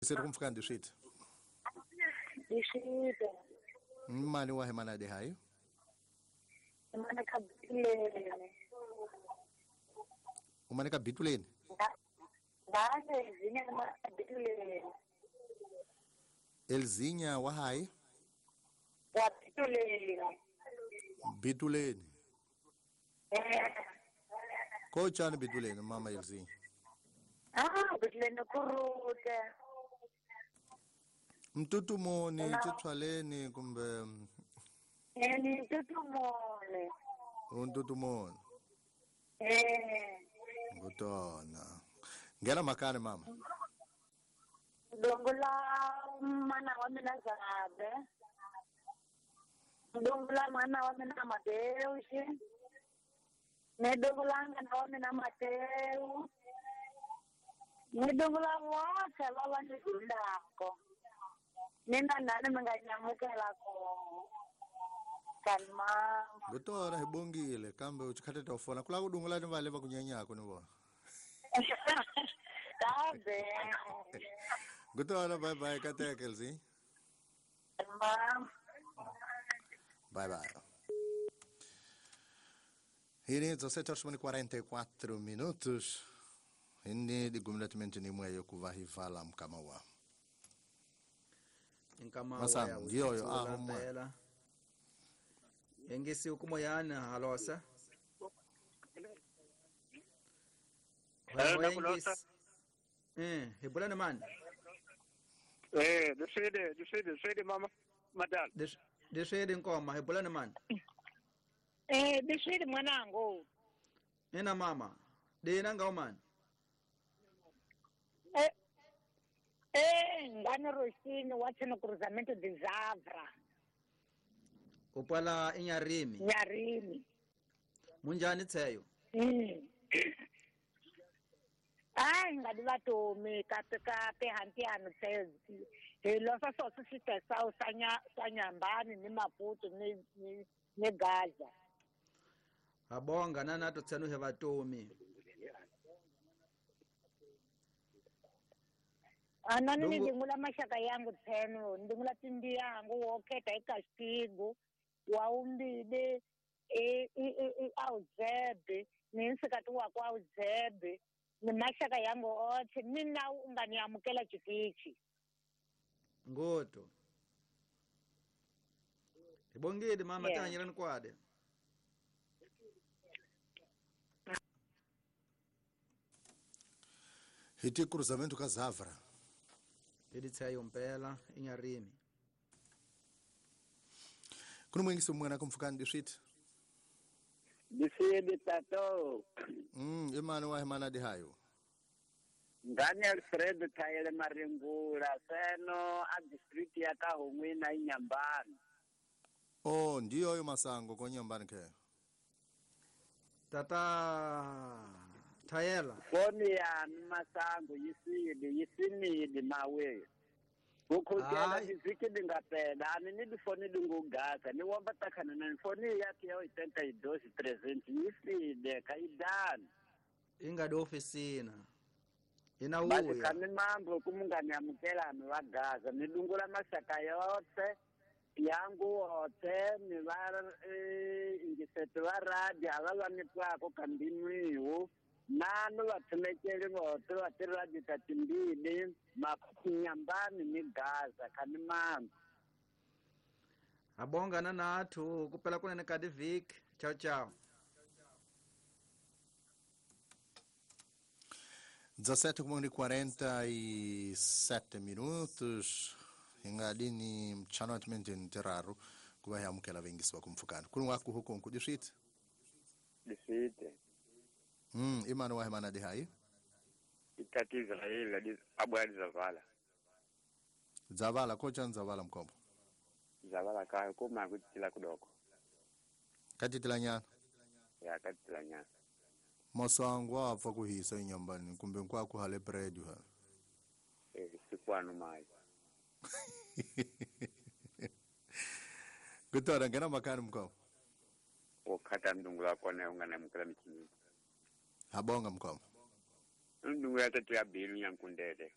Seri kumfika ndiswiti. Ndiswiti. Mali wa hemana de hayo? Mana ka bituleni. Umane ka bituleni? Ngase Elzinya mana ka bituleni. Elzinya wa hayi? Wa bituleni. Bituleni. Kochani bituleni mama Elzinya? Ah, bituleni kurute. Mtutumoni chitshwaleni kumbe ni mtutumoni. Mtutumoni. Ngutona. Ngena makani mama. Dongola mana wa mina zabe. Dongola mana wa mina Mateusi. Ne dongola ngana wa mina Mateu. Ne dongola wote lava ni ndako. Nina nani mnganyamukela ko. Kalma. Ngutona hibongile kambe uchikhathe tofona kula kudungula ni vale va kunyanyako ni vona. Tabe. Ngutona bye bye kateke Elzi. Mama. Bye bye. Hini 17h44 minutos. Hini digumletmente ni mweyo kuvahivala mkamawa. Nkama Masam, ndiyo ahomwe. Engesi ukumoyana halosa. Hebulana man. Dishede mama madam. Dishede nkoma hebulana man. Dishede mwanangu. Nena mama. Dena ngao man. Ngani Rosini wathena cruzamento de Zavra. Upala inyarimi. Nyarimi. Munjani tseyo? Ai ngadi vatomi kape hantiano tseyo. Hi losa soso sitesa sanya sanyambani ni Maputo ni Gaza. Abonga nana to tsenu he vatomi. Anani ndingula mashaka yangu tsenu ndingula tindi yangu woketa ikastigo waumbide auzebe ninsikati wako auzebe ni mashaka yangu othe mina unganiamukela chitichi ngoto ibongile mama yeah. Tanyelani kwade hiti cruzamento ka Zavra editsayo mpela inyarimi kuno mwengisi mwana kumfukani dishit Dishidi tato. Imani wa hemana dihayo. Ngani Alfredo Tayele Maringula seno a district ya Kahungwi na Inyambani. Oh, ndiyo yo masango ko Nyambani ke. Tata Tayela. Foni ya masango yisidi yisimidi mawe. Ukukela diziki dingapela ani ni difoni dingugasa ni wamba takana na foni yake ya 82 300 yiside kaidani. Inga do ofisina. Ina uya. Basi kami mambo kumungani amukela amewagaza nidungula masaka yote yangu wote ni var ingisetu wa radio alala nitwako kambimwiwu nanu vathumekeli vote va tiradio ta timbili makunyambani ni Gaza kani mambo. Abonga na nathu kupela kunene ka divik. Ciao ciao. 17h47 minutos ingadini mchano ntiraro kuva yamukela vengisiwa kumfukana kuni waku huko nkudishit dishite imani wa hemana de hayi itati Israel abwali zavala zavala kocha nzavala mkombo zavala kayo kuma kutila kudoko katitila nyana ya katitila nyana masango apfa kuhisa inyambani kumbe nkwaku hale bread ha sikwanu mai kutora ngena makani mkombo okata ndungula kone ungana mukala michini habonga mkombo ndungula tatu ya bilu nyankundele